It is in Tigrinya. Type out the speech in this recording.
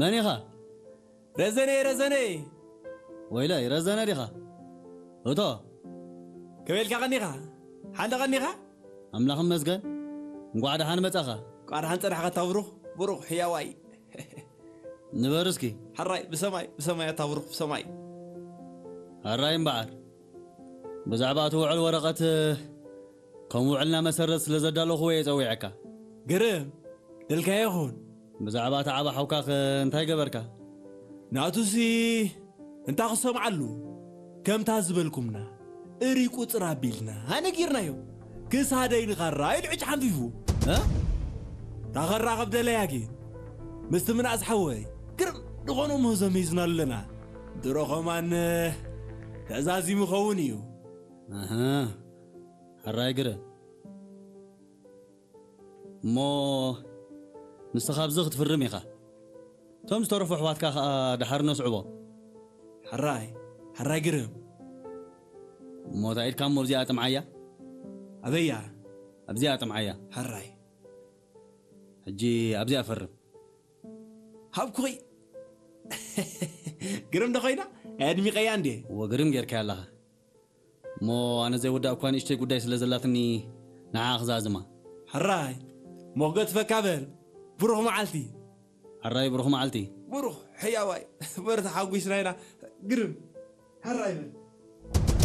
መን ኢኻ? ረዘነ፣ ረዘነ። ወይለይ፣ ረዘነ ዲኻ? እቶ። ከመይ ኢልካ ቀኒኻ? ሓንተ ቀኒኻ? ኣምላኽ ይመስገን። እንቋዕ ደሓን መጻኻ። እንቋዕ ደሓን ጸናሕካ ኣታ ብሩኽ፣ ብሩኽ ሕያዋይ። ንበር እስኪ። ሕራይ፣ ብሰማይ፣ ብሰማይ ኣታ ብሩኽ፣ ብሰማይ። ሕራይ እምበኣር። ብዛዕባ እቲ ውዕል ወረቐት ከም ውዕልና መሰረት ስለ ዘዳለኹዎ እየ ጸዊዐካ። ግርም፣ ደልካዮ ይኹን። ብዛዕባ እቲ ዓቢ ሓውካኸ እንታይ ገበርካ? ናቱሲ እንታ ክሰምዓሉ፣ ከምታ ዝበልኩምና፣ እሪ ቁጽር ኣቢልና ነጊርናዮ። ክሳደይ ንኻራ ኢሉ ዕጭ ሓንፊፉ። እ? ታኸራ ከብደለያ ግን፣ ምስቲ ምናእስ ሓወይ፣ ግርም ዝኾነ ምህዞ ሚዝናሉ ኣለና። ድሮ ኸማን ተዛዚሙ ኸውን እዩ። ኣሃ፣ ሕራይ ግረ። እሞ ንስኻ ኣብዚ ክትፍርም ኢኻ። እቶም ዝተረፉ ኣሕዋትካ ኸኣ ደሓር ነስዕቦ። ሕራይ፣ ሕራይ ግርም። እሞ እታ ኢድካ እሞ ኣብዚኣ ጥምዓያ። ኣበያ? ኣብዚኣ ጥምዓያ። ሕራይ። ሕጂ ኣብዚኣ ፈርም። ሃብኩኺ። ግርም ዶ ኾይና? ኣድሚቐያ እንዴ? እወ፣ ግርም ጌርካያ ኣለኻ። እሞ ኣነ ዘይወዳእ እኳ ንእሽተይ ጉዳይ ስለ ዘላትኒ ንዓኣ ክዛዝማ። ሕራይ፣ ሞገት ፈካ በል። ብሩኽ መዓልቲ። ሕራይ፣ ብሩኽ መዓልቲ። ብሩኽ ሕያዋይ። በርታ ሓጒስና ኢና። ግርም። ሕራይ በል።